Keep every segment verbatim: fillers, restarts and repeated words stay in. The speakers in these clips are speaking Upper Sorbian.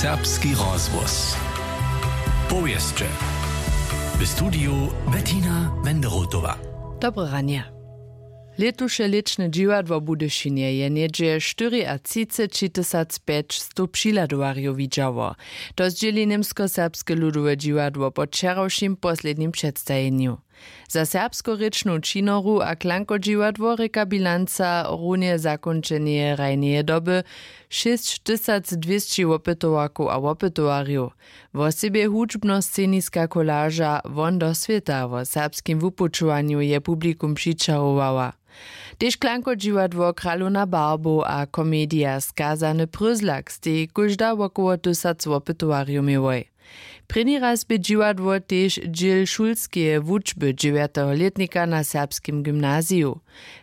Serbski rozhłos. Powěsće. W studiju Bettina Wenderotowa. Dobre ranje. Lětuše lěčne dźiwadło w Budyšinje je něhdźe štyriatřicećitysac pjećstow přihladowarjow widźało. To zdźěli němskoserbske ludowe dźiwadło po wčerawšim poslednim předstajenju. Za serbskorěčnu činoru a klankodźiwadło rěka bilanca runje zakónčeneje hrajneje doby šěsć tysac dwěsći wopytowarkow a wopytowarjow. Wosebje hudźbnosceniska kolaža Won do swěta wo serbskim wupućowanju je publikum přićahowała. Tež klankodźiwadło Kralowna barbow a komedija Skazany pryzlak stej kóžda wokoło tysac wopytowarjow měłoj. Prěni raz bě dźiwadło tež dźěl šulskeje wučby dźewjateho lětnika na serbskim gymnaziju.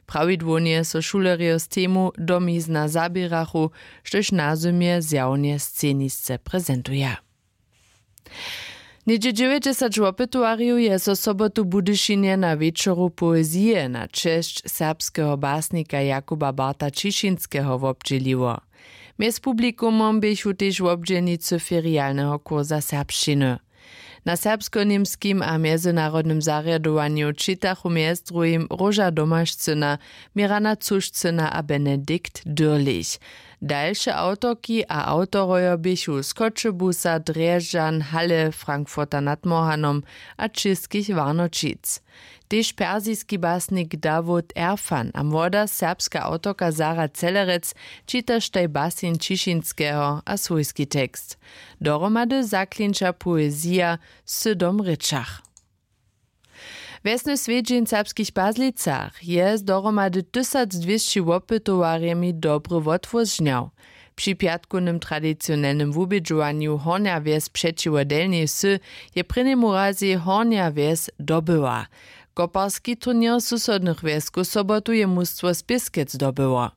Prawidłownje so šulerjo z temu domizna zaběrachu, štož nazymje zjawnje scenisce prezentuja. Něhdźe dźewjećdźesać wopytowarjow je so sobotu w Budyšinje na wječoru poezije na česć serbskeho basnika Jakuba Barta Ćišinskeho wobdźěliło. Mjez publikumom běchu tež wobdźělnicy ferialneho kursa serbšćiny. Na serbskoněmskim a mjezynarodnym zarjadowanju čitachu mjez druhim Róža Domašcyna, Mirana Cušcyna a Benedikt Dürlich. Dalše awtorki a awtorojo běchu z Choćebuza, Drježdźan, Halle, Frankfurta nad Mohanom a Čěskich Warnoćic. Tež persiski basnik Dawud Erfan a młoda serbska awtorka Sara Celerec čitaštaj basen Ćišinskeho a swójski tekst. Dohromady zaklinča poezija w sydom rěčach. Wjesny swjedźeń w Serbskich Pazlicach je z dohromady tysacdwěsći wopytowarjemi dobry wotwór žnjał. Při pjatkownym tradicionelnym wubědźowanju Hornja Wjes přećiwo Delnjej Wsy je prěnjemu razej Hornja Wjes dobyła. Koparski turněr susodnych wjeskow sobotu je mustwo z Pěskec dobyło.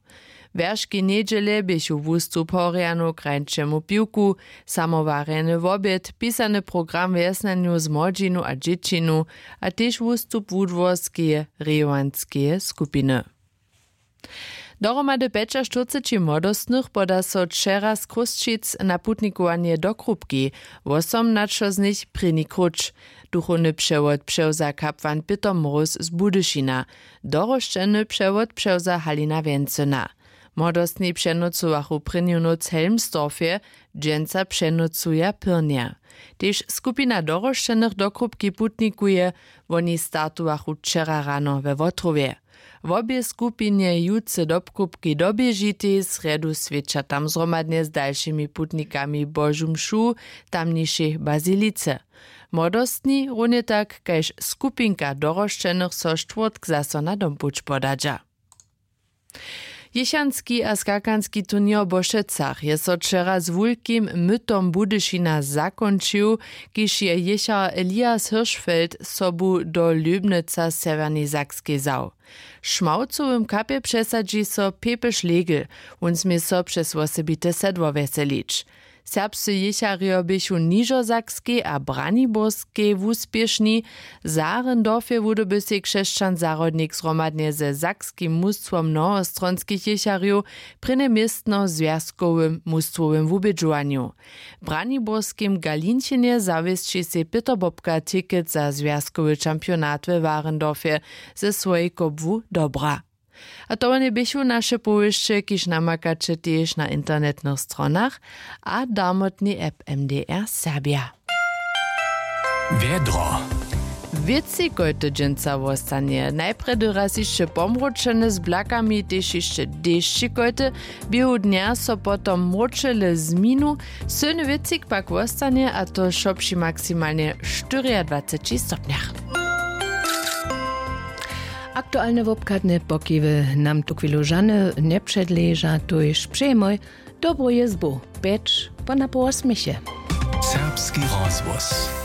Wjerški njedźele běchu wustup Horjanow k hrańšemu piwku, samowarjeny wobjed, pisany program wjesnjanjow z młodźinu a dźěćinu a tež wustup wudworskeje rejowanskeje skupiny. Dohromady pjećaštyrceći młodostnych poda so wčera z Chrósćic na putnikowanje do Krupki, wosomnaćo z nich prěni króć. Duchowny přewod přewza kapłan Pětr Mróz z Budyšina, dorosćeny přewod přewza Halina Wjencyna. Młodostni přenocowachu prěnju nóc w Helmsdorfje, dźensa přenocuja pyrnje. Tež skupina dorosćenych do Krupki putnikuje, woni startowachu wčera rano we Wotrowje. Wobě skupinje jutře do Krupki doběžitej, srjedu swědča tam zhromadnje z dalšimi putnikami Božu mšu w tamnišej bazilice. Młodostni runje tak kaž skupinka dorosćenych so štwórtk zaso na dompuć podadźa. Jěchanski a skakanski turněr w Bošecach je so wčera z wulkim mytom Budyšina zakónčił, kiž je jěchar Elias Hirschfeld sobu do Lóbnyca w Sewjernej Sakskej wzał. W šmałcowym kapje přesadźi so Pepy Šlegel, wón smě so přez wosebite sedło wjeselić. Serbscy jěcharjo běchu w Nižosakskej a Braniborskej wuspěšni. W Saarendorfje wudoby sej křesćan zahrodnik zhromadnje ze sakskim mustwom mnohostronskich jěcharjow prěnje městno w zwjazkowym mustwowym wubědźowanju. W braniborskim Galinchenje zawěsći sej Pětr Bobka ticket za zwjazkowy čampionat we Warendorfje ze swojej kobłu dobra. A to wone běchu naše powěsće, kiž namakaće tež na internetnych stronach a darmotnej app M D R Serbja. Wjedro. Wětřikojty dźensa wostanje. Najprjedy raz hišće pomróčene z blakami, tež hišće dešćikojty. Běhu dnja so potom mróčele zminu. Sylny wětřik pak wostanje, a to wšo při maksimalnje štyriadwaceći stopnjach. Aktualne wobchadne pokiwy nam tuchwilu žane njepředleža, tuž přejemoj dobru jězbu, pjeć po napoł wosměše. Serbski rozhłos.